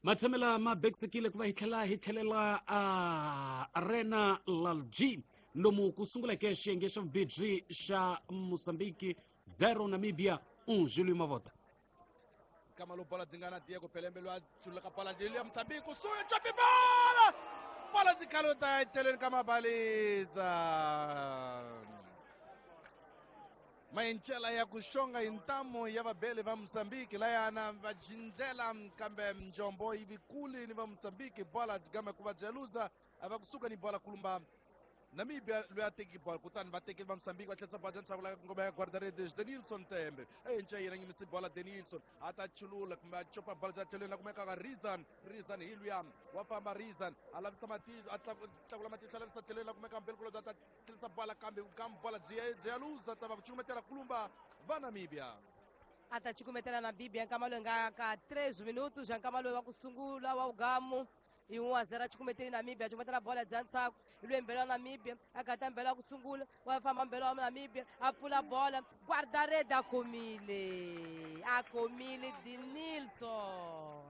Matshamela ma bekisekile ku va hi tlhela hi tlhelela a Arena Lalji lomu ku sunguleke xiyenge xa vubirhi xa Mozambique 0 Namibia 1. Julio Mavota. Kama lo bola dzingana Diego Pelembe lwa chulula ka bola ya Mozambique kusuhi chopi bola bola dzikhaluta etlhelweni ka mabaliza mayincela ya ku xonga hi ntamu ya vabeli va Mozambique layana va jindlela kambe njombo yi vikuli ni va Mozambique bola game ku va jeluza a va kusuka ni bola kulumba Namibia loyi a teki bola kutani va tekeli va Mozambique va tlherisa bola ndzhaku la ngoma ya guarda-redes Denilson Tembe ehenhla yena nyimisi bola Denilson a ta chulula kumbe a copa bola bya tlhelweni la kumekaka Rizan Rizan hi luya wa famba Rizan a lavisa matihlo a tlakula matihlo a lavisa tlhelweni la kumeka mbelikulo bya ta tlherisa bola kambe kambe bola byi ya luza ta va ku cukumetela kulumba va Namibia. A ta cukumetela Namibia nkama loyi nga ka 3 minutos ya nkama loyi wa ku sungula wa ugamu hi 1-0 cukumeteli Namibia cukumetela bola bya ntshaku hi lwe mbelo wa Namibia a gata mbelo wa ku sungula wa famba mbelo wa Namibia a pfula bola guarda-rede a khomile a khomile Denilson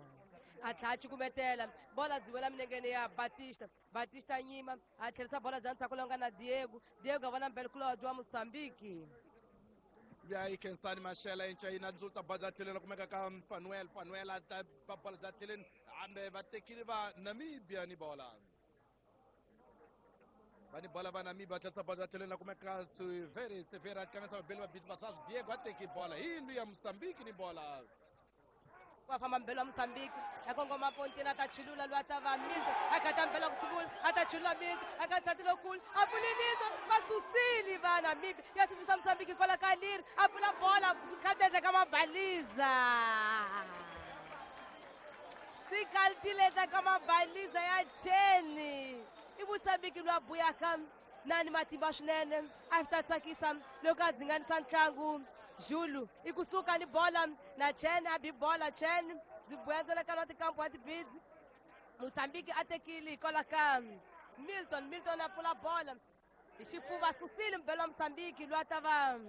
a tlhela a cukumetela bola byi wela milengeni ya Batista Batista nyima a tlherisa bola bya ntshaku lowu nga na Diego Diego a vona mbelo kulobye wa Mozambique. Ya yi Khensani Mashela encayina ndzuluta bola bya tlhelweni la kumeka ka Fanuel Fanuel a ta ba bola bya tlhelweni hambe va tekile va Namibia ni bola va ni bola va Namibia va tlherisa bola bya tlhelweni la kumeka Severi Severi a tlangisa vabeli va biti va Diego a teki bola hi yindlu ya Mozambique ni bola. Wa famba mbelo wa Mozambique a kongoma Pontina a ta chulula loyi a ta va Milton a gata mbelo wa ku sungula a ta chulula Milton a ka nsati lowukulu a pfulinisa va susile va Namibia ya sindzisa Mozambique hikwalaho ka leri a pfula bola khatendla ka mabaliza tikaltileta ka mabaliza ya cheni i Mozambique loyi a buyaka na ni matimba swinene a swi ta tsakisa loko a dzinganisa ntlangu Zulu i kusuka ni bola na Chen a bi bola Chen byi buya ntsena ka lwa tikampu wa tibidzi Mozambique a tekile hikwalaho ka Milton Milton a pfula bola hi xifuva susile mbelo wa Mozambique loyi a ta va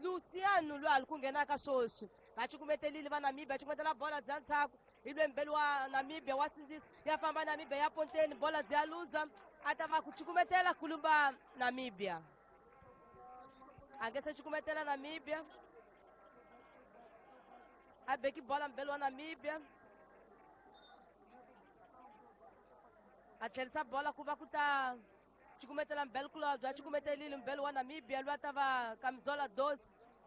Luciano loyi a li ku nghenaka sweswi va cukumetelile va Namibia cukumetela bola bya ndzhaku hi lwe mbelo wa Namibia wa sindzisa ya famba Namibia ya ponteni bola bya luza a ta va ku cukumetela kulumba Namibia a nge se cukumetela Namibia a beki bola mbelo wa Namibia a tlherisa bola ku va ku ta cukumetela mbelo kulobye a cukumetelile mbelo wa Namibia loyi a ta va Kamizola 12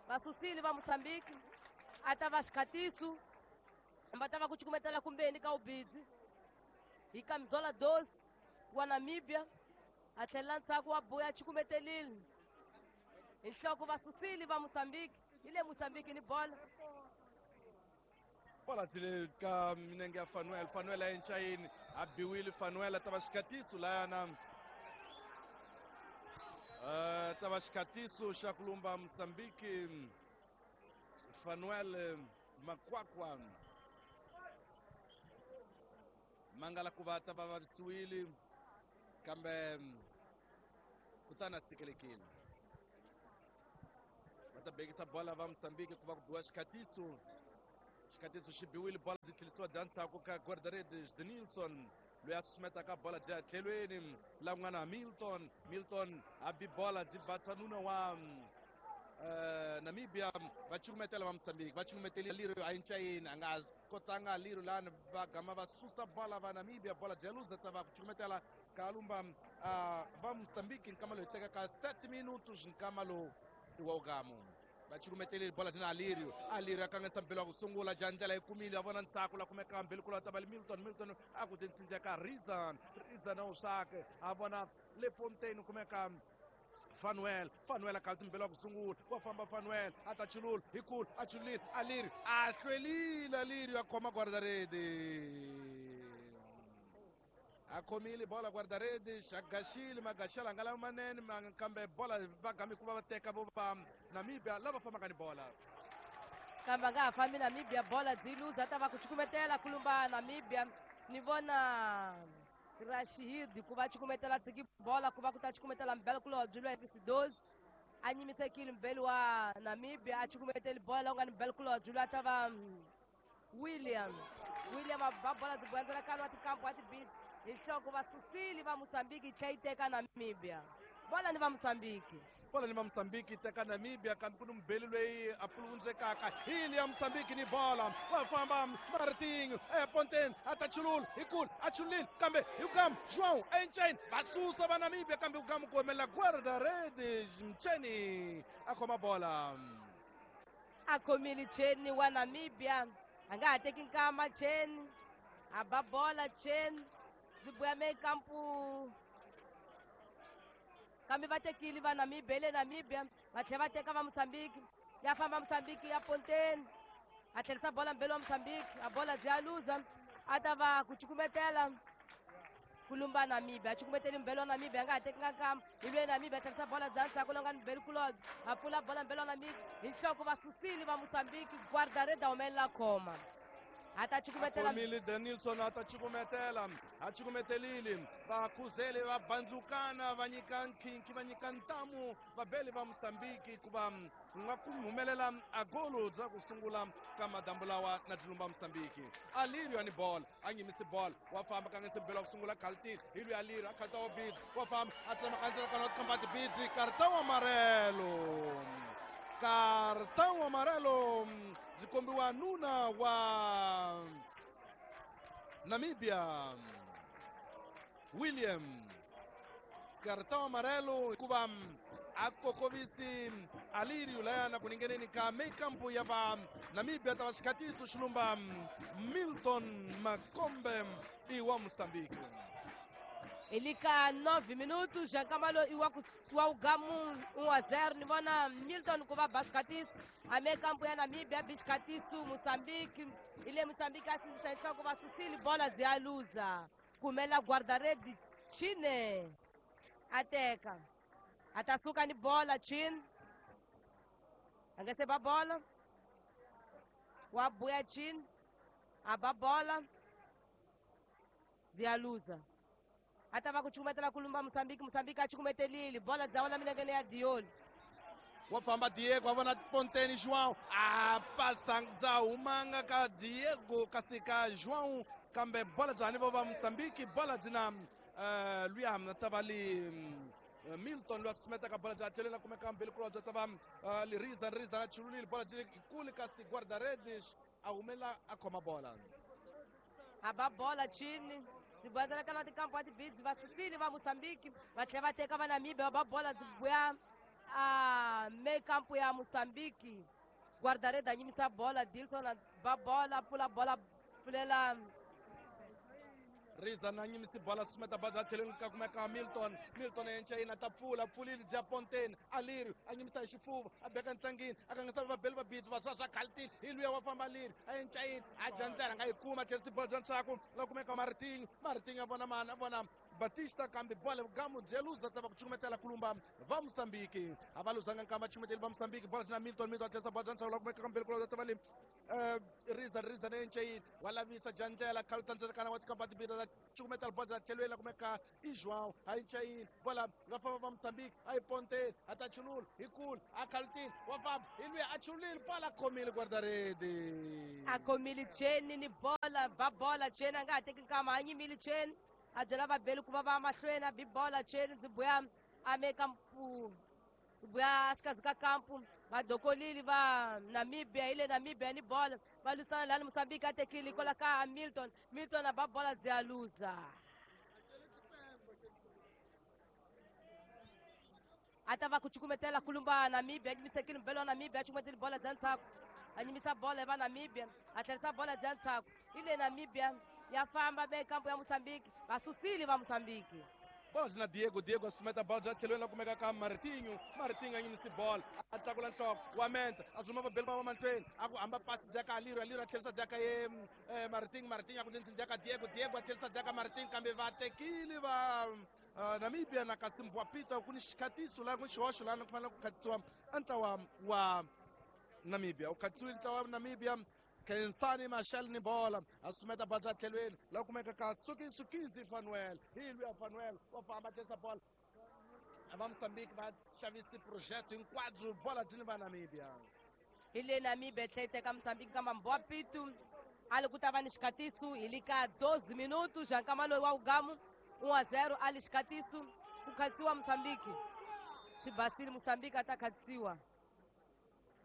va susile va Mozambique a ta va xikhatiso va ta va ku cukumetela kumbeni ka ubidzi hi Kamizola 12 wa Namibia a tlhelela ndzhaku wa buya a cukumetelile hi nhloko va susile va Mozambique hi le Mozambique ni bola bola dzile ka minenge ya Fanuel Fanuel a encayini a biwile Fanuel a ta va xikhatiso layana ta va xikhatiso xa kulumba Mozambique Fanuel Makwakwa mangala ku va ta va vavisiwile kambe kutani a sikelekile va ta bekisa bola va Mozambique ku va ku biwa xikhatiso xikhatiso xi biwile bola byi tlherisiwa bya ndzhaku ka guarda-redes Denilson loyi a susumetaka bola byi ya tlhelweni la kun'wana Milton Milton a bi bola byi batsa nuna wa Namibia va cukumetela va Mozambique va cukumetele liro a yincayini a nga kotanga liro lani va gama va susa bola va Namibia bola bya luza ta va ku cukumetela kalumba va Mozambique nkama loyi tekaka 7 minutos nkama lowu wa ugamu va cukumetelile bola dina Alirio Alirio a kanganyisa mbelo wa ku sungula ja ndlela yi kumile a vona ntsako la kumeka mbelo kula ta va Milton Milton a ku tinsinja ka Rizan Rizan a wu swake a vona le Fontaine kumeka Fanuel Fanuel a kalti mbelo wa ku sungula wa famba Fanuel a ta chulula hi kulu a chululile Alirio a hlwelile Alirio a khoma guarda-rede a khomile bola guarda-redes a gaxile magaxela nga lama manene kambe bola va gami ku va va teka vo va Namibia lava fambaka ni bola kambe a nga ha fambi Namibia bola byi luza ta va ku cukumetela kulumba Namibia ni vona Rashid ku va cukumetela tshiki bola ku va ku ta cukumetela mbele kulobye lwa 12 a nyimisekile mbele wa Namibia a cukumeteli bola u nga ni mbele kulobye lwa ta va William William a ba bola byi boyandzela kano wa tikampu wa tibiti hi nhloko va susile va Mozambique yi tlhela yi teka Namibia bola ni va Mozambique bola ni va Mozambique teka Namibia kambe ku ni mubeli loyi a puluvundzekaka hili ya Mozambique ni bola va famba Martinho eponteni a ta chulula hi kulu a chululile kambe hi kugamu João Enchain va susa va Namibia kambe hi kugamu ku humelela guarda-redes Mcheni a khoma bola a khomile Cheni wa Namibia a nga ha teki nkama Cheni a ba bola Cheni byi buya mekampu kambe va tekile va Namibia le Namibia va tlhela va teka va Mozambique ya famba Mozambique ya ponteni a tlherisa bola mbele wa Mozambique a bola byi ya luza a ta va ku cukumetela ku lumba Namibia a cukumeteli mbele wa Namibia a nga ha tekanga nkama hi lwe Namibia a tlherisa bola bya ndzhaku lowu nga ni mbele kulobye a pfula bola mbele wa Namibia hi nhloko va susile va Mozambique guarda-redes a humelela khoma a ta cukumetela khomile Danielson a ta cukumetela a cukumetelile va khuzele va bandlukana va nyika nkhinkhi va nyika ntamu vabeli va Mozambique ku va ku nga ku humelela a golo bya ku sungula ka madambu lawa na tilumba Mozambique Alirio ani ball a nyimisi ball wa famba ka ngese bela ku sungula khalti hi lwi Alirio a khalta wa bidzi wa famba a tsema kandzela kana kamba tibidzi cartão amarelo cartão amarelo byi kombiwa nuna wa Namibia William cartão amarelo hikuva a kokovisi Alirio layana ku ningeneni ka meikampu ya va Namibia ta va xikhatiso xilumba Milton Makombe i wa Mozambique Elika 9 minutos já kamalo iwa wa ugamu 1-0 ni vona Milton ku va ba xikhatiso a mekampu ya Namibia bi xikhatiso Mozambique ile Mozambique a sindzisa hi nhloko va susile bola byi ya luza kumela guarda-redes Chine a teka a ta suka ni bola Chine a nga se ba bola wa buya Chine a ba bola byi ya luza a ta va ku cukumetela ku lumba Mozambique Mozambique a cukumetelile bola dza wela milengeni ya Dioli wa famba Diego a vona Ponteni João a pasa bya humanga ka Diego kasi ka João kambe bola bya ni vo va Mozambique bola byi na luya ta va li Milton loyi a susumetaka bola bya tlhelela kumeka mbili kulobye ta va Liriza Riza na chululile bola byi kule kasi guarda-redes a humela a khoma bola a ba bola Chini byi boyandzela na tikampu wa tibidzi va susile va Mozambique va tlhela va teka va Namibia va ba bola byi buya a mekampu ya Mozambique guarda-redes a nyimisa bola Dilson a ba bola pfula bola pfulela Riza na nyimisi bola susumeta bola bya tlhelweni ka kumeka Milton Milton enchayina ta pfula pfulile bya Ponteni Alirio a nyimisa hi xifuva a beka ntlangini a kangisa vabeli va bidzi va swa swa khaltini hi luya wa famba Alirio a enchayini a dya ndlela nga yi kuma tlherisi bola bya ntshaku la kumeka Martinho Martinho a vona mani a vona Batista kambe bola gamu bya luza ta va ku cukumetela kulumba va Mozambique a va luzanga nkamba cukumeteli va Mozambique bola na Milton Milton a tlherisa bola bya ntshaku la kumeka kambeli kulobye ta va le Riza Riza na enchayini wa lavisa jandlela khalta ndzela wa tikamba timbirhi la cukumetela bola tlhelweni la kumeka i João a enchayini bola va famba va Mozambique a yi ponteni a ta chulula hi kulu a khaltini wa famba hi luya a chululile bola a khomile guarda-redes a khomile Cheni ni bola ba bola Cheni a nga ha teki nkama a nyimile Cheni a byela vabeli ku va va mahlweni a bi bola Cheni byi buya a mekampu buya xikarhi ka kampu va dokolile va Namibia hi le Namibia ni bola va lwisana lani Mozambique a tekile kwala ka Milton Milton a ba bola byi ya luza a ta va ku cukumetela kulumba Namibia a nyimisekile mbele wa Namibia a cukumeteli bola bya ntshaku a nyimisa bola va Namibia a tlherisa bola bya ntshaku hi le Namibia ya famba mekampu ya Mozambique va susile va Mozambique bola byi na Diego Diego a susumeta bola bya tlhelweni la kumeka ka Martinho Martinho a nyimisi bola a tlakula nhloko wa menta a zuma vabeli va va mahlweni a ku hamba pasi bya ka Alirio Alirio a tlherisa bya ka ye Martinho Martinho a ku ndzi bya ka Diego Diego a tlherisa bya ka Martinho kambe va tekile va Namibia na kasi Mbwapito ku ni xikhatiso laha ku ni xihoxo laha ku fanele ku khatisiwa a ntlawa wa Namibia u khatisiwile ntlawa wa Namibia Khensani Machel ni bola a susumeta bola bya tlhelweni la kumeka ka Sukizi Fanuel hi luya Fanuel wa famba tlherisa bola va Mozambique va xavisi project hinkwabyo bola byi ni va Namibia. Hi le Namibia tlhela yi teka Mozambique kamba Mbowa Pitu a li ku ta va ni xikatisu hi li ka 12 minutos xa nkama loyi wa wugamu 1-0 a li xikatisu ku khatsiwa Mozambique swi basile Mozambique a ta khatsiwa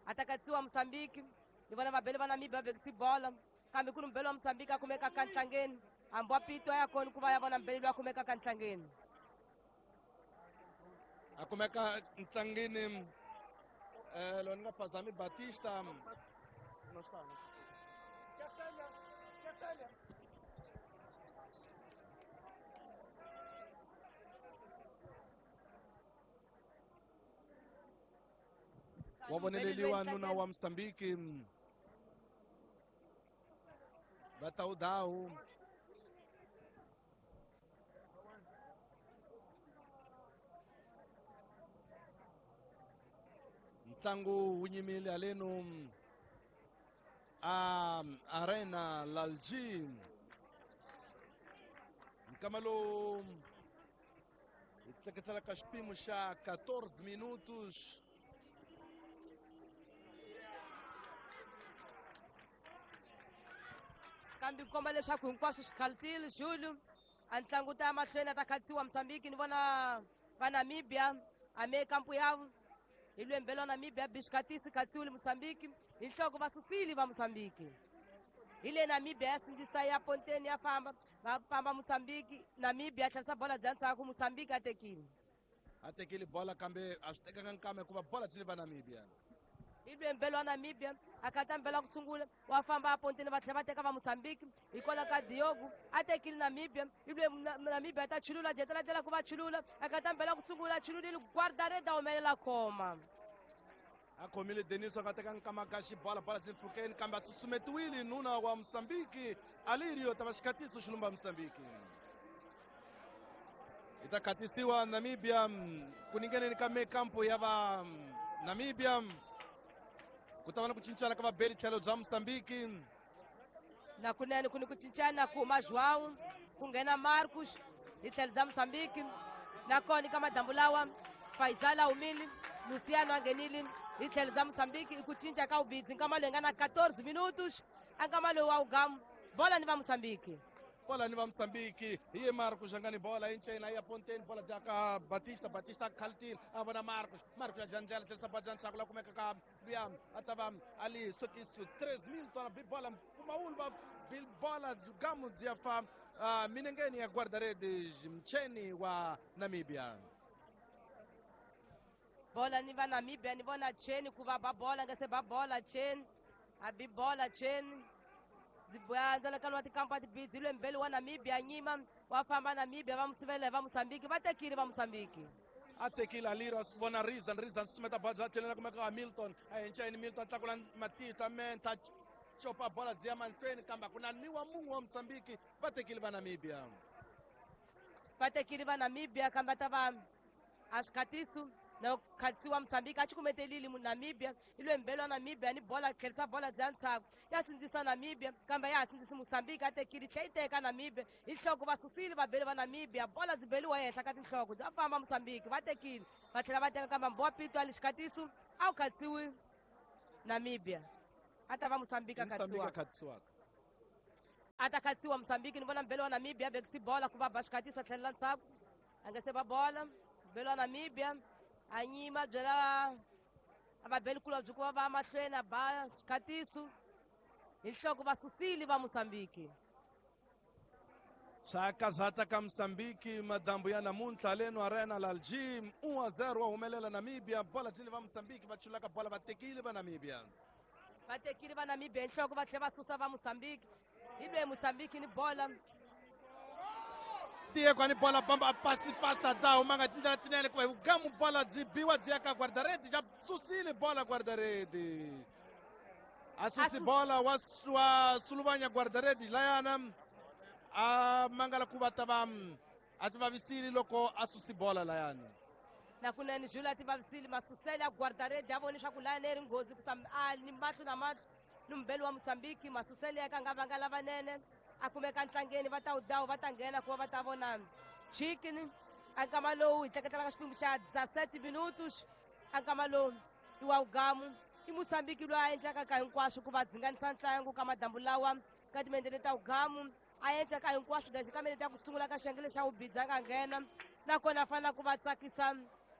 a ta katsiwa Mozambique ni vona vabeli va Namibia va vekisi bola kambe ku ri mubeli wa Mozambique a kumeka ka ntlangeni hambi wa Pito a ya kona ku va ya vona mubeli loyi a kumeka ka ntlangeni a kumeka ntlangeni loyi ni nga phazami Batista no está. Wa voneleliwa nuna wa Mozambique va tawudawu ntlangu wu nyimile halenu a Arena Lalji nkama lowu hi tseketelaka xipimo xa 14 minutos. Kambe ku komba leswaku hinkwaswo swi khaltile Julio a ntlangu ta ya mahlweni a ta khatsiwa Mozambique ni vona va Namibia a me kampu yavo hi lwembelo wa Namibia bixikatisi khatsiwile Mozambique hi nhloko va susile va Mozambique hi le Namibia ya sindzisa ya ponteni ya famba va famba Mozambique Namibia a tlherisa bola bya ndzhaku Mozambique a tekile a tekile bola kambe a swi tekanga nkama hikuva bola byi le va Namibia hi lwembelo wa Namibia a kata mbela ku sungula wa famba a ponteni va tlhela va teka va Mozambique hikwalaho ka Diogo a tekile Namibia hi lwe Namibia a ta chulula jetela ndlela ku va chulula a kata mbela ku sungula chululile guardareda humelela khoma a khomile Denis a nga teka nkama ka xibola bola byi mpfhukeni kambe a susumetiwile nuna wa Mozambique Alirio ta va xikhatiso xilumba Mozambique hi ta khatisiwa Namibia ku ningeneni ka mekampo ya va Namibia ku ta va na ku cincana ka vabeli tlhelo bya Mozambique na kunene ku ni ku cincana ku huma João ku nghena Marcos hi tlhelo bya Mozambique nakona ka madambu lawa Faisal a humile Luciano a nghenile hi tlhelo bya Mozambique i ku cinca ka vubidzi nkama loyi nga na 14 minutos a nkama loyi wa wugamu bola ni va Mozambique bola ni va Mozambique hi ye Marcos a nga ni bola yi ya ponteni bola bya ka Batista Batista a khaltile a vona Marcos Marcos ya jandlela tlherisa bola bya ndzhaku la kumeka ka luya a ta va ali sokisu 3000 tona bi bola mpfumawulo va bola gamu byi ya fa minengeni ya guarda-redes mcheni wa Namibia bola ni va Namibia ni vona cheni ku va ba bola nga se ba bola cheni a bi bola cheni ndzalakano wa tikampa tibidzi lwembeli wa Namibia nyima wa famba Namibia va musivela va Mozambique va tekile va Mozambique a tekile Aliro a vona Rizan Rizan susumeta bola bya tlhelela kumeka Hamilton a henchayini Milton a tlakula matihlo a menta copa bola byi ya mahlweni kambe a ku na ni wa mun'we wa Mozambique va tekile va Namibia va tekile va Namibia kambe ta va a swikhatiso na khatsiwa Mozambique a cukumetelile Namibia i lwembelo wa Namibia ni bola tlherisa bola bya ndzhaku ya sindzisa Namibia kambe ya ha sindzisi Mozambique a tekile tlhe yi teka Namibia hi nhloko va susile vabeli va Namibia bola byi beliwa ehenhla ka tinhloko bya famba Mozambique va tekile va tlhela va teka kambe Mbowa Pito a le xikatiso a wu khatsiwi Namibia a ta va Mozambique a khatsiwaka a ta khatsiwa Mozambique ni vona mbelo wa Namibia vekisi bola ku va ba xikatiso a tlhelela ndzhaku a nga se ba bola mbelo wa Namibia a nyima byela a va beli kula byi ku va va mahlweni a ba xikhatiso hi nhloko va susile va Mozambique swa kazata ka Mozambique madambu ya namuntlha leno Arena Lalji 1-0 wa humelela Namibia bola byi va Mozambique va chulaka bola va tekile va Namibia va tekile va Namibia hi nhloko va tlhela va susa va Mozambique hi lwe Mozambique ni bola Diego ni bola bamba pasi pasa dza humanga tindlela tinene ku gamu bola byi biwa byi ya ka guardaredi ja susile bola guardaredi a susi bola wa suluvanya guardaredi layana a mangala ku va ta va a ti vavisile loko a susi bola layana na kunene Jules a ti vavisile masusele ya guardaredi a voni leswaku layana yi ri nghozi ku a ni mahlo na mahlo Ni mubeli wa Mozambique masusele ya ka nga vanga lavanene a kumeka ntlangeni va ta wu dawu va ta nghena ku va va ta vona chicken a nkama lowu hi tleketlelaka xiphemu xa 17 minutos a nkama lowu i wa wugamu i Mozambique loyi a endlaka ka hinkwaswo ku va dzinganisa ntlangu ka madambu lawa ka timendele ta wugamu a endla ka hinkwaswo lexi ka minete ya ku sungula ka xiyenge xa wubidzi a nga nghena nakona a fanela ku va tsakisa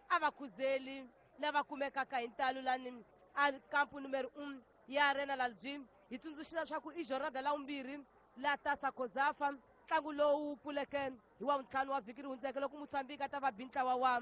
a va khuzeli lava kumekaka hi ntalo lani a kampu numero 1 ya Arena Lalji. Hi tsundzuxile leswaku i jornada la vumbirhi la Tasa Kozafa, ntlangu lowu pfuleke hi wa vuntlhanu wa vhiki ri hundzeke loko Mozambique a ta va bi ntlawa wa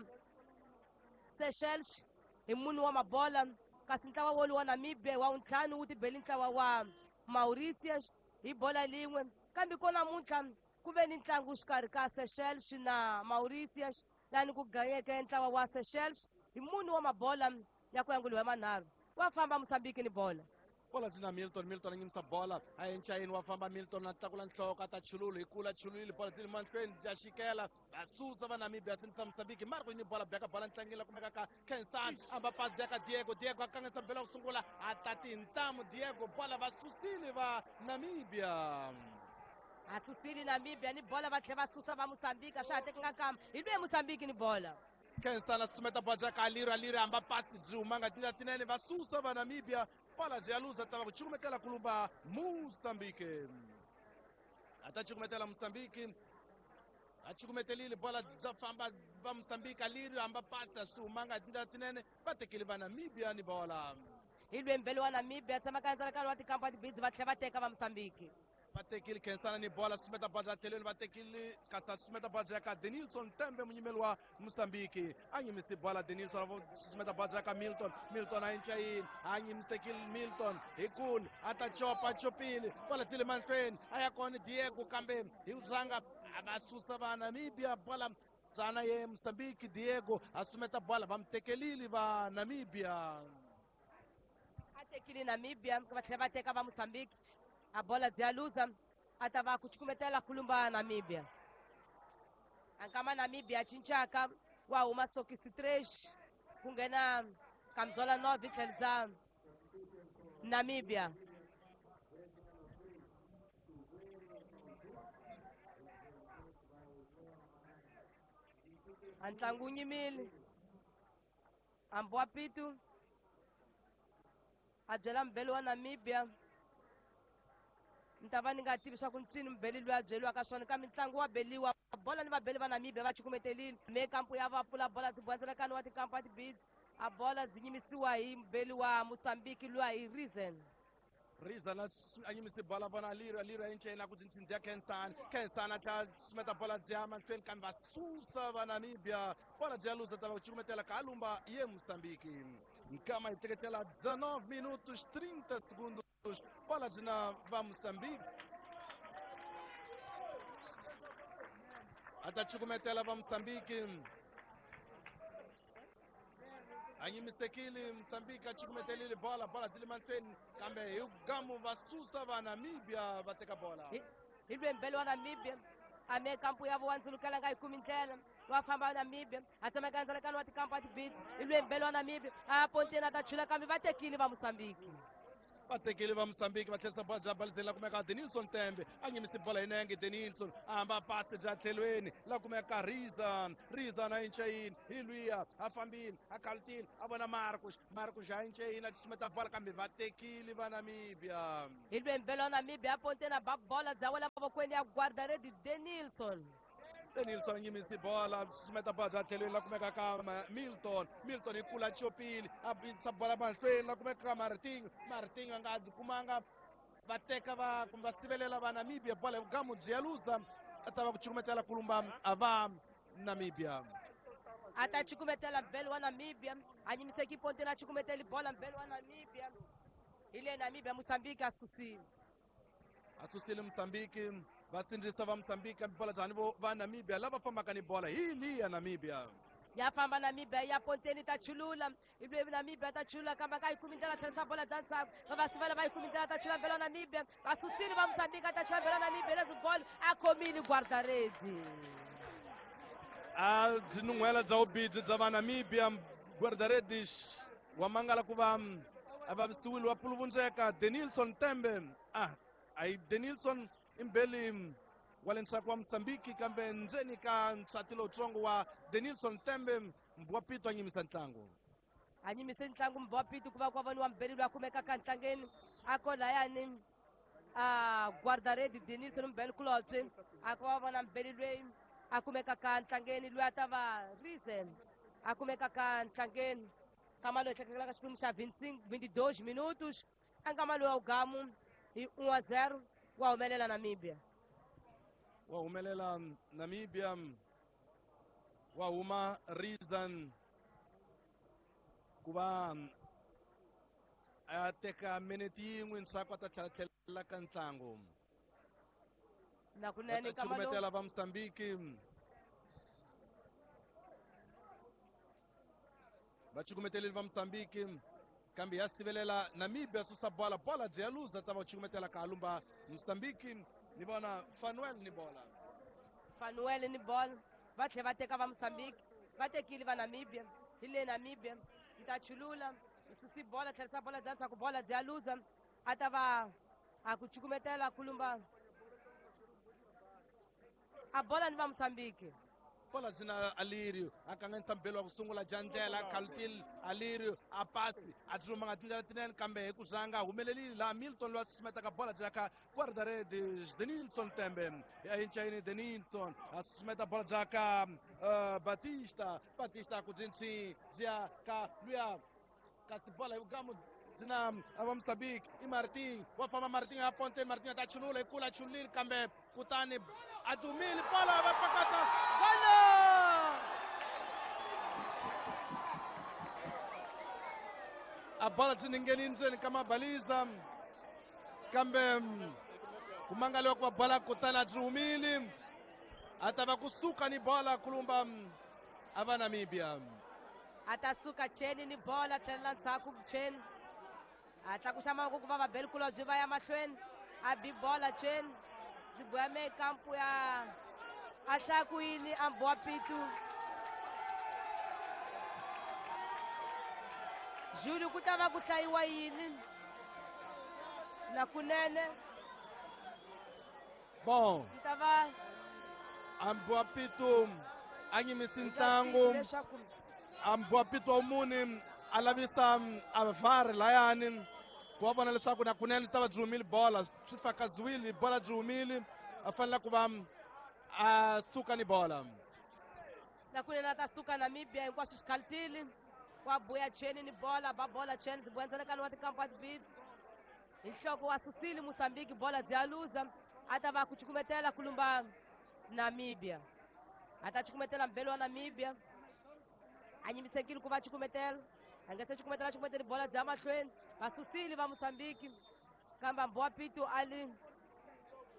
Seychelles hi mune wa mabola, kasi ntlawa wolowu wa Namibia hi wa vuntlhanu wu tibeli ntlawa wa Mauritius hi bola lin'we. Kambe ko namuntlha ku ve ni ntlangu xikarhi ka Seychelles na Mauritius lani ku ganyeke ntlawa wa Seychelles hi mune wa mabola ya ku yanguliwa hi manharhu. Wa famba Mozambique ni bola. Bola byi na Milton, Milton a nyimisa bola a enchayini, wa famba Milton a tlakula nhloko a ta chululu hi kula chululile bola byi le mahlweni bya xikela va susa va Namibia a sindzisa Mozambique. Marco ni bola beka bola ntlangeni la kumeka ka Kensan amba pasi ya ka Diego, Diego a kanganyisa bela ku sungula a ta tintamu Diego bola va susile va Namibia. A susile Namibia ni bola va tlhela va susa va Mozambique, a swa ha tekanga kama hi lwe Mozambique ni bola. Kensan a susumeta bola bya ka Aliro, Aliro amba pasi byi humanga tindlela tinene va susa va Namibia. Bola byi ya luza ta va ku cukumetela kulumba Mozambique. A ta cukumetela Mozambique. A cukumetelile bola bya famba va Mozambique, Aliro amba pasi a swi humanga tindlela tinene va tekile va Namibia ni bola. Hi lwe mbele wa Namibia tshama ka ndzalakano wa tikampa tibidzi va tlhela va teka va Mozambique. Va tekile Khensana ni bola susumeta bola bya tlhelweni va tekile kasi a susumeta bola bya ka Denilson Tembe munyimeli wa Mozambique a nyimisi bola Denilson a susumeta bola bya ka Milton, Milton a enchayini a nyimisekile Milton hi kule a ta chopa chopile bola byi le mahlweni a ya kona Diego kambe hi rhanga a va susa va Namibia bola byana ye Mozambique Diego a susumeta bola va mu tekelile va Namibia. A tekile Namibia va tlhela va teka va Mozambique a bola bya luza a ta va ku cukumetela kulumba Namibia. A nkama Namibia cincaka wa huma sokisi 3 ku nghena Kamzola 9 tlhelo bya Namibia. A ntlangu wu nyimile hambi wa Pitu a byela mubeli wa Namibia ni ta va ni nga tivi swa ku ncini mubeli loyi a byeriwaka swona kambe ntlangu wa beliwa bola ni vabeli va Namibia va cukumetelile me kampu ya va pfula bola byi boha wa tikampu a tibidzi a bola byi nyimisiwa hi mubeli wa Mozambique luya hi Reason. Reason a nyimisi bola vona Aliro, Aliro a enchayini ku byi ya Kensan, Kensan a tlhela susumeta bola bya mahlweni kambe va susa va Namibia bola bya luza ta va ku cukumetela ka lumba ye Mozambique. Nkama hi teketela 19 minutos 30 segundos bola byi na va Mozambique. A ta cukumetela va Mozambique. A nyimisekile Mozambique a cukumetelile bola, bola byi le mahlweni kambe hi gamu va susa va Namibia va teka bola. Hi lwe mbele wa Namibia a me kampu ya vo ndzulukela nga yi kumi ndlela wa famba Namibia a tsemeka ndzalakano wa tikampu a tibidzi hi lwe mbele wa Namibia a ponteni a ta chula kambe va tekile va Mozambique. Va tekile va Mozambique va tlherisa bola bya balizeni la kumeka Denilson Tembe a nyimisi bola hi nenge Denilson a hamba pasi bya tlhelweni la kumeka Rizan, Rizan a enchayini hi luya a fambile a kalutile a vona Marcos, Marcos a enchayini a susumeta bola kambe va tekile va Namibia. Hi lwe mbele wa Namibia a ponteni a ba bola bya wela mavokweni ya guardaredi Denilson. Denilson a nyimisi bola susumeta bola bya tlhelweni la kumeka ka Milton, Milton hi kula chopile a yisa bola mahlweni la kumeka ka Martinho, Martinho a nga byi kumanga va teka va kumbe va sivelela va Namibia bola hi gamu byi ya luza a ta va ku cukumetela kulumba a va Namibia. A ta cukumetela mbele wa Namibia a nyimiseki ponteni a cukumeteli bola mbele wa Namibia hi le Namibia Mozambique a susile. A susile Mozambique va sindzisa va Mozambique kambe bola byani vo va Namibia lava fambaka ni bola hi liya Namibia. Ya famba Namibia ya ponteni ta chulula hi lwe Namibia ta chulula kambe ka yi kumi ndlela tlherisa bola bya ndzhaku va va sivela va yi kumi ndlela ta chula mbele wa Namibia va susile va Mozambique ta chula mbele wa Namibia lezi bolo a khomile guardaredi. A byi nun'hwela bya vubidzi bya va Namibia guardaredi wa mangala ku va A vavisiwile wa puluvundzeka Denilson Tembe. A Denilson imbeli wa le ndzhaku wa Mozambique, kambe ndzeni ka nsati lowutsongo wa Denilson Tembe, Mbwa Pito a nyimisa ntlangu. A nyimise ntlangu Mbwa Pito ku va ku voniwa mbeli loyi a kumekaka ntlangeni a ko layani a guardaredi Denilson mbeli kulobye a ku va vona mbeli loyi a kumekaka ntlangeni loyi a ta va Reason a kumekaka ntlangeni nkama loyi tlhekelaka xiphemu xa 22 minutos a nkama loyi wa ugamu hi 1-0 wa humelela Namibia. Wa humelela Namibia, wa huma Reason ku va a teka minete yin'we ndzhaku a ta tlhela tlhelela ka ntlangu. Nakunene nkama lowu cukumetela va Mozambique, va cukumeteleli va Mozambique, kambe ya sivelela Namibia, susa bola, bola byi ya luza, ta va cukumetela ka lumba Mozambique. Ni vona Fanuel ni bola. Fanuel ni bola, va tlhela va teka va Mozambique, va tekile va Namibia. Hi le Namibia yi ta chulula, yi susi bola, tlherisa bola bya ndzhaku, bola byi ya luza, a ta va a ku cukumetela kulumba a bola ni va Mozambique. Bola byi na Alirio, a kanganyisa mbelo wa ku sungula jandlela Kaltil Alirio, a pasi a byi humanga tindlela tinene, kambe hi ku zanga humelelile laha Milton loyi a susumetaka bola byi ya ka guarda-redes Denilson Tembe. Ya hincayini Denilson a susumeta bola bya ka Batista, Batista ku byi byi ya ka luya, kasi bola hi vugamu byi na va Mozambique i Martin, wa famba Martin a ponte, Martin a ta chulula, hi kula chululile, kambe kutani a dumile bola va pakata. Golo! A bola byi ningheni ndzeni ka mabaliza, kambe ku mangaliwa ku va bola kutani a byi humile, a ta va kusuka ni bola kulumba a va Namibia. A ta suka cheni ni bola, tlhelela ndzhaku cheni, a tlakusa mavoko ku va vabeli kulobye va ya mahlweni, a bi bola cheni byi boya me kampu ya a hlaya ku yini a Mbwa Pitu Juli, ku ta va ku hlayiwa yini nakunene? Bon, yi ta va Ambwa Pitu a nyimisi ntlangu. Leswaku Ambwa Pitu wa muni a lavisa a VAR layani ku va vona leswaku nakunene ta va byi humile bola, swi fakaziwile bola byi humile, a fanele ku va a suka ni bola. Nakunene a ta suka Namibia, hinkwaswo swi khalitile, wa buya cheni ni bola, ba bola cheni byi buya ndzalekano wa tikampa beats hi nhloko, wa susile Mozambique, bola byi ya luza, a ta va ku cukumetela kulumba Namibia, a ta cukumetela mbelo wa Namibia, a nyimisekile ku va cukumetela, a nga se cukumetela, cukumeteli bola bya mahlweni, va susile va Mozambique, kambe Mbwa Pito a li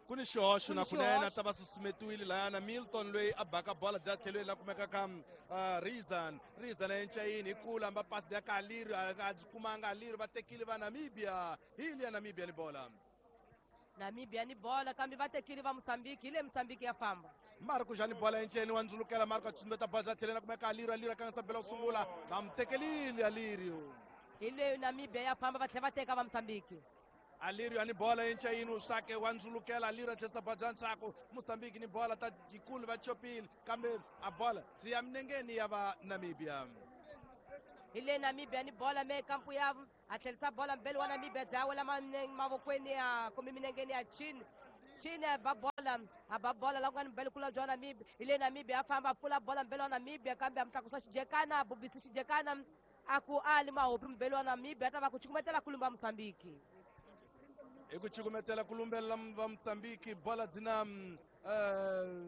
Ku ni xihoxo. Ku ni Nakunene a xihoxo. ta va susumetiwile layana Milton loyi a baka bola bya tlhelweni la kumekaka Reason, Reason a encayini hi kula amba pasi ya ka Alirio, a byi kumanga Alirio, va tekile va Namibia, hi liya Namibia ni bola. Namibia ni bola, kambe va tekile va Mozambique, hi le Mozambique ya famba. Marco jani bola enceni, wa ndzulukela Marco, a tsumbeta bola bya tlhelweni la kumeka Alirio, Alirio a kanganyisa bela ku sungula, va mu tekelile Alirio. Hi leyo Namibia ya famba, va tlhela va teka va Mozambique. Alirio ani bola encayini, uswake wa ndzulukela Alirio, a tlherisa bola bya ndzhaku, Mozambique ni bola ta yikulu, va chopile, kambe a bola byi ya minengeni ya va Namibia. Hi le Namibia ni bola me kampu ya, a tlherisa bola mbeli wa Namibia, bya wela mavokweni ya kumbe minengeni ya chini, chini a ba bola, a ba bola la ku nga ni mbeli kula bya Namibia. Hi le Namibia a famba, a pfula bola mbeli wa Namibia, kambe a mu tlakusa xijekana, a bubisi xijekana, a ku ali mahopi mbeli wa Namibia, a ta va ku cukumetela kulumba Mozambique. Hi ku cukumetela ku lumbelela va Mozambique, bola byi na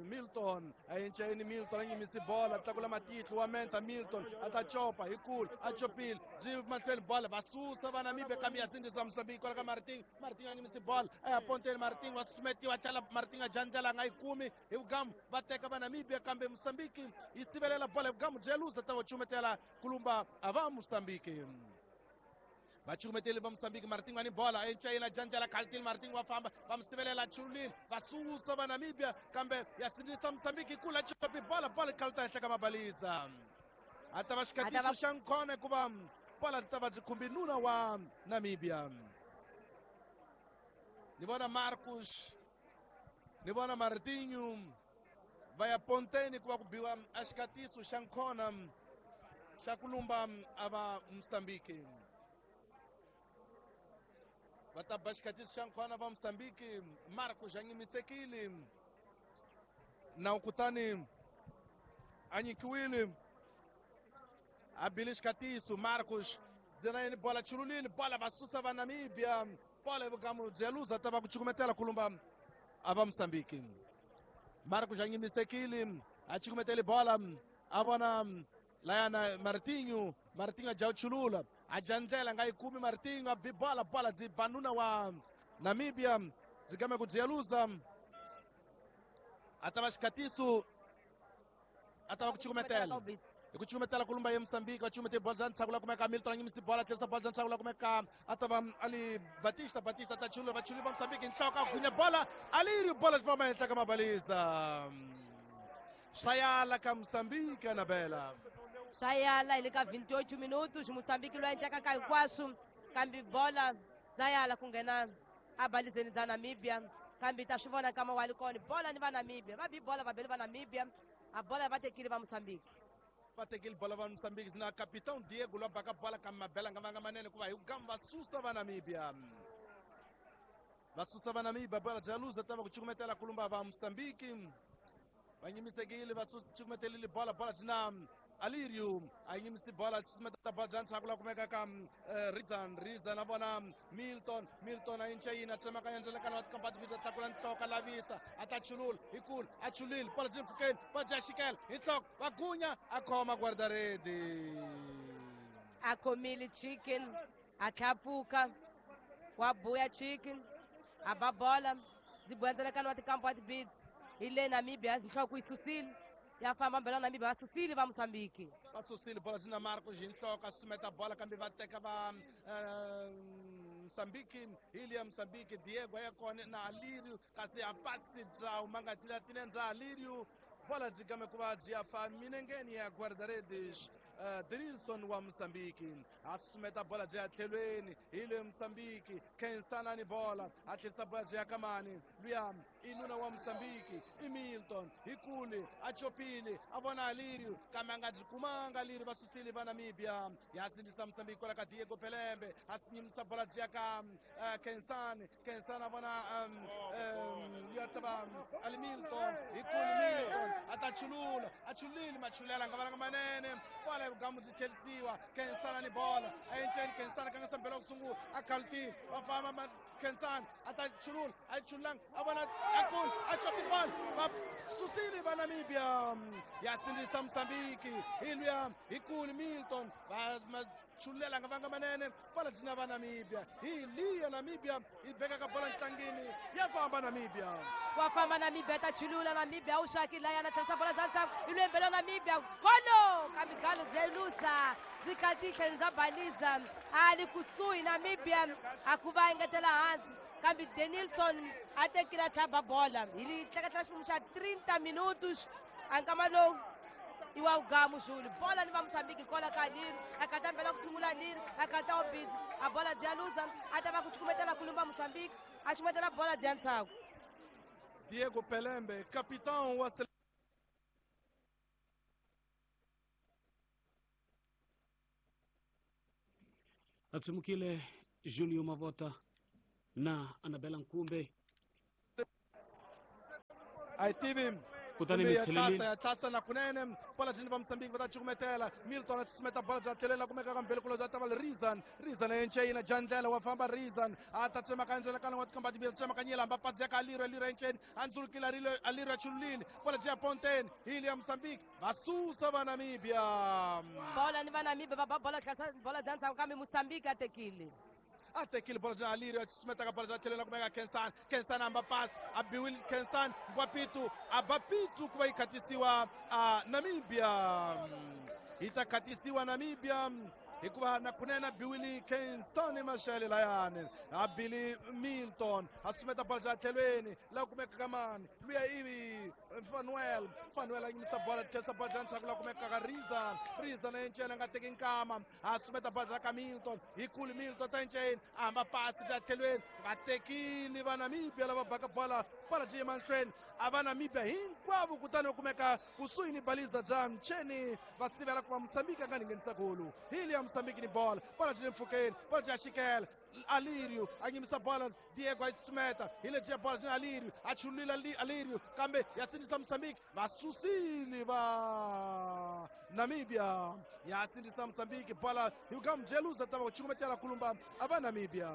Milton a encayini, Milton a nyimisi bola, tlakula matihlo wa menta, Milton a ta copa hi kulu, a chopile byi mahlweni bola, va susa va Namibia, kambe ya sindzisa Mozambique kwala ka Martin, Martin a nyimisi bola, a ya ponteni, Martin wa susumetiwa, tlhela Martin a jandlela, a nga yi kumi hi vugamu, va teka va Namibia, kambe Mozambique yi sivelela bola hi vugamu byi ya luza, ta va cumetela kulumba a va Mozambique, vacukumeteli va Mozambique, Martin wa ni bola encayina, jandlela Kaltil, Martin wa famba, va mu sivelela, chululile, va susa va Namibia, kambe ya sindzisa Mozambique kula chopi bola, bola kalta henhla ka mabalisa, a ta va xikatiso xa nkhona hikuva Bola byi ta va byi khumbi nuna wa Namibia. Ni vona Marcos, ni vona Martinho va ya ponteni ku va ku biwa a xikatiso xa nkhona xa ku lumba a va Mozambique. Va ta ba xikatiso xa nkhona va Mozambique. Marcos a nyimisekile nawu kutani a nyikiwile a bile xikatiso. Marcos ndzena yini bola chululile bola va susa va Namibia. Bola vugamu bya luza ta va ku cukumetela ku lumba a va Mozambique. Marcos a nyimisekile a cukumetele bola a vona layana Martinho. Martinho a dya chulula a dya ndlela nga yi kumi. Martinho a bi bola, bola byi ba nuna wa Namibia byi game ku byi ya luza. A ta va xikatiso, a ta va ku cukumetela hi ku cukumetela ku lumba ye Mozambique. Va cukumete bola bya ntshaku la kumeka Milton a nyimisi bola tlherisa bola bya ntshaku la kumeka a ta va Ali Batista. Batista ta chulula va chulula va Mozambique nhloko a gunya bola aliri bola byi famba henhla ka mabalisa. Swa yala ka Mozambique Anabela. Swa yala hi le ka 28 minutos Mozambique loyi endlaka ka hinkwaswo kambe bola bya yala ku nghena abalizeni bya Namibia. Kambe ta swi vona kama wa li kona bola ni va Namibia va bi bola va bele va Namibia a bola va tekile va Mozambique. Va tekile bola va Mozambique na capitão Diego lwa baka bola ka mabela nga vanga manene ku va hi ku gamba va susa va Namibia. Va susa va Namibia bola bya luza ta va ku cukumetela ku lumba va Mozambique. Va nyimisekile va cukumetelile bola, bola byi na Alirio a nyimisi bola susumeta bola bya ntshaku la kumeka ka Rizan. Rizan a vona Milton. Milton a yinca yini a tsemakanya ndzelekano wa tikampa ta tlakula nhloko a lavisa a ta chulula hi kulu a chulile bola byi mpfhukeni bola bya xikela hi nhloko va gunya a khoma guardaredi. A khomile chicken a tlhapfuka wa buya chicken a ba bola byi buya ndzelekano wa tikampa wa tibits hi le Namibia nhloko yi susile ya famba mbela Namibia va susile va Mozambique. Va susile bola byi na Marcos hi nhloko a susumeta bola kambe va teka va Mozambique. Hi liya Mozambique Diego a ya kona na Alirio kasi a pasi bya huma nga tila bya Alirio. Bola byi game ku va byi ya fa minengeni ya guarda-redes Denilson wa Mozambique. A susumeta bola byi ya tlhelweni hi le Mozambique. Khensana ni bola a tlherisa bola byi ya kamani luya i nuna wa Mozambique i Milton hi kule a chopile a vona Alirio kambe a nga byi kumanga Alirio. Va susile va Namibia ya sindzisa Mozambique kwala ka Diego Pelembe a sinyimisa bola byi ya ka Khensani. Khensani a vona luya ta va Ali Milton hi kule Milton a ta chulula a chulile machulela nga valanga manene kwala vugamu byi tlherisiwa. Khensani ni bola a enceni Khensani ka nga sambela ku sungula a khalutile va famba Khensani a ta chulula a chululanga a vona a kulu a chopi bola va susile va Namibia ya sindzisa Mozambique hi luya hi kulu Milton va chululela nga vanga manene bola byi na va Namibia hi liya Namibia yi vekaka bola ntlangini ya famba Namibia. Wa famba Namibia ta chulula Namibia u xaki laya na tlherisa bola bya ntshaku hi lwembelo Namibia golo kambe galo bya luza byi khatihla bya baliza a li kusuhi Namibia a ku va engetela hansi kambe Denilson a tekile a tlhaba bola hi li tleketlela ximumu xa 30 minutos a nkama lowu i wa ugamu Júlio bola ni va Mozambique kola ka Liro a kata mbela ku sungula Liro a kata obidzi a bola bya luza a ta va ku cukumetela ku lumba Mozambique a cukumetela bola bya ntshaku. Diego Pelembe capitão wa a tshimukile Julio Mavota na Anabela Nkumbe a yi tivi kutani mi tlhelelile ya tlasa na kunene bola byi va Mozambique va ta cukumetela. Milton a susumeta bola bya tlhelela kumeka ka mbele kulo bya ta va Rizan. Rizan a enceyina dya ndlela wa famba Rizan a ta tsemakanya ndlela wa tikomba timbirhi tsemakanyela hamba pasi ya ka Alirio. Alirio enceni a ndzulukile Alirio a chululile bola byi ya ponteni hi liya Mozambique va susa va Namibia. Bola ni va Namibia va ba bola tlhasa bola bya ndzhaku kambe Mozambique a tekile. A tekile bola bya Alirio a susumeta ka bola bya tlhelela kumeka Khensani. Khensani hamba pasi a biwile Khensani Ngwapitu a ba pitu ku va yi khatisiwa a Namibia. Yi ta khatisiwa Namibia Hikuva na kunene biwili Kensani Mashele layani a Billy Milton a sumeta bola bya tlhelweni la kumeka ka mani luya ivi Fanuel Fanuel a yimisa bola tlherisa bola bya ndzhaku la kumeka ka Rizan Rizan a encela nga teki nkama a sumeta bola bya ka Milton hikulu Milton ta enceni a hamba pasi bya tlhelweni va tekile va Namibia lava baka bola bola byi yima mahlweni a va Namibia hinkwavo kutani va kumeka kusuhi ni baliza bya Mcheni va sivela ku va Mozambique a nga nghenisa golu hili ya Mozambique ni bola bola byi le mpfhukeni bola byi ya xikela Alirio a nyimisa bola Diego a yi tsutsumeta hi lebyi bola byi Alirio a chulula Alirio kambe ya sindzisa Mozambique va susile va Namibia ya sindzisa Mozambique bola hi ka Mjeluza ta va ku cukumetela kulumba a va Namibia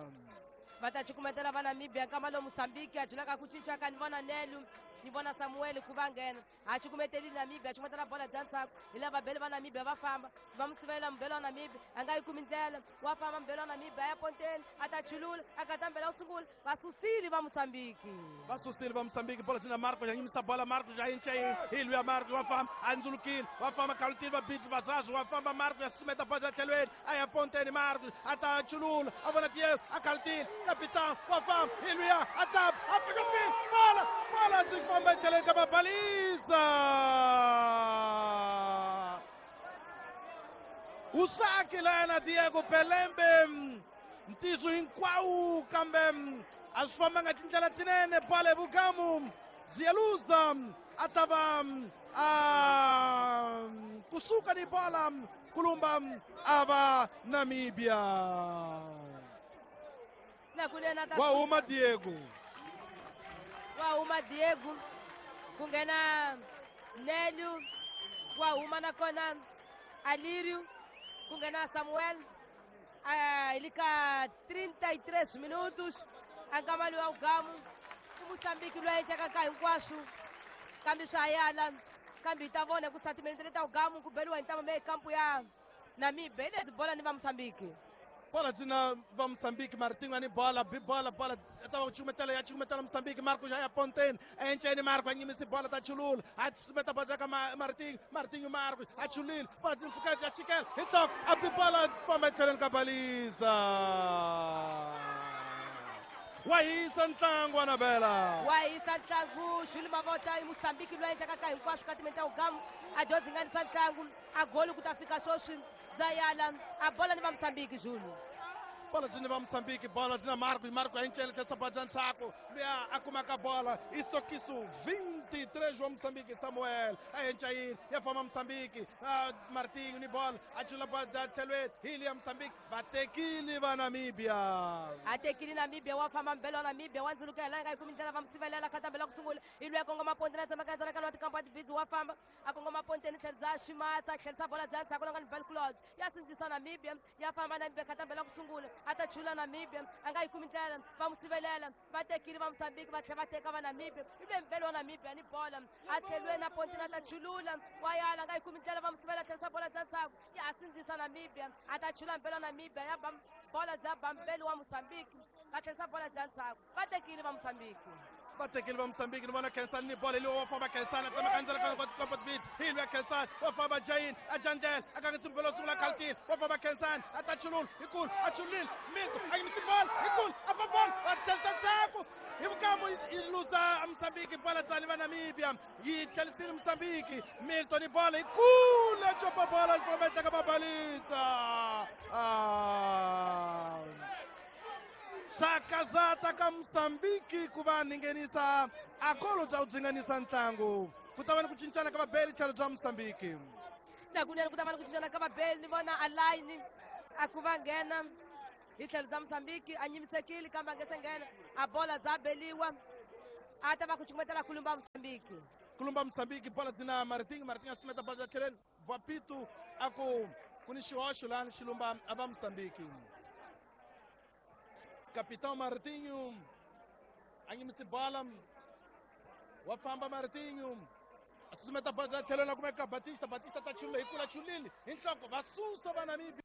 va ta cukumetela va Namibia nkama lowu Mozambique a byelaka ku cinca ka ni vona Nelu ni vona Samuel ku va nghena a cukumeteli Namibia a cukumetela bola bya ndzhaku hi lava vabeli va Namibia va famba va mu sivela mubeli wa Namibia a nga yi kumi ndlela wa famba mubeli wa Namibia a ya ponteni a ta chulula a kata mbela wu sungula va susile va Mozambique va susile va Mozambique bola jina Marco ya nyimisa bola Marco ya yinche hi luya Marco wa famba a ndzulukile wa famba kalutile va beach va zazu wa famba Marco ya sumeta bola tlhelweni a ya ponteni Marco a ta chulula a vona Diego a kalutile capitão wa famba hi luya a ta a fika bola bola byi famba tlhelweni ka babaliza o saque lá na Diego Pelembe ntiso hinkwawo kambe a swi fambanga tindlela tinene bola vugamu Jeluza a ta va a kusuka ni bola kulumba a va Namibia wa huma Diego wa huma Diego ku nghena Nelu wa huma nakona Alirio ku nghena Samuel hi ka 33 minutos a nkama lowu wa wugamu i Mozambique loyi a encaka ka hinkwaswo kambe swa yala kambe hi ta vona ku sa timinete leta wugamu ku beliwa hi ntama kampu ya Namibia hi lezi bola ni va Mozambique bola dzina va Mozambique Martinho ani bola bi bola bola ta va cukumetela ya cukumetela Mozambique Marco ya ponteni enceni Marco a nyimisi bola ta chulula a tsumeta bola ka Martinho Martinho Marco a chulile bola dzina pfuka ya xikela hi nhloko a bi bola famba etlhelweni ka baliza wa hisa ntlangu Anabela wa hisa ntlangu Jules Mavota i Mozambique loyi a encaka ka hinkwaswo ka timinete ta wugamu a dyondzinganisa ntlangu a goli ku ta fika sweswi Zayala a bola ni va Mozambique Jules bola dzina va Mozambique bola dzina Marco Marco a encela tlherisa bola bya ndzhaku luya a kumaka bola isokiso 23 wa Mozambique Samuel a encayini ya famba Mozambique Martinho ni bola a chula bola bya tlhelweni hili ya Mozambique va tekile va Namibia a tekile Namibia wa famba mbelo wa Namibia wa ndzuluka hi laha nga yi kumi ndlela va musivelela khatambela ku sungula hi luya kongoma ponteni a tsemaka endzhaku ka lwa tikampa tibidzi wa famba a kongoma ponteni tlherisa ximatsa tlherisa bola bya ndzhaku longa ni Belclod ya sindzisa Namibia ya famba Namibia khatambela ku sungula a ta chula Namibia a nga yi kumi ndlela va mu sivelela va tekile va Mozambique va tlhela va teka va Namibia i ve mbelo wa Namibia ni bola a tlheliwe na ponteni a ta chulula wa yala a nga yi kumi ndlela va mu sivela tlherisa bola bya ndzhaku ya sindzisa Namibia a ta chula mbelo wa Namibia ya bola bya bambelo wa Mozambique va tlherisa bola bya ndzhaku va tekile va Mozambique va tekile va Mozambique ni vona Khensani ni bola leyi wa famba Khensani a tsemaka endzela ka comfort beat hi luya Khensani wa famba Jain a jandlela a kangisa mbelo wo sungula khalutile wa famba Khensani a ta chulula hikulu a chululile Milton a yimisi bola hikulu a fa bola a tlherisa ndzhaku hi vukamu yi luza Mozambique bola tsani va Namibia yi tlherisile Mozambique Milton ni bola hikulu a copa bola yi famba yi teka babalitsa swakazata ka Mozambique ku va nghenisa a golo bya ku dzinganisa ntlangu ku ta va ni ku cincana ka vabeli tlhelo bya Mozambique nakunene ku ta va ni ku cincana ka vabeli ni vona alayini a ku va nghena hi tlhelo bya Mozambique a nyimisekile kambe a nge se nghena a bola bya beliwa a ta va ku cukumetela kulumba Mozambique kulumba Mozambique bola dzina Martinho Martinho a sumeta bola bya tlhelweni Vapitu a ku ku ni xihoxo lani xilumba a va Mozambique Capitão Martinho a nyimisi bola wa famba Martinho a susumeta bola bya tlhelo la kumeka Batista Batista ta chulula hi kula chulile hi nhloko va susa va Namibia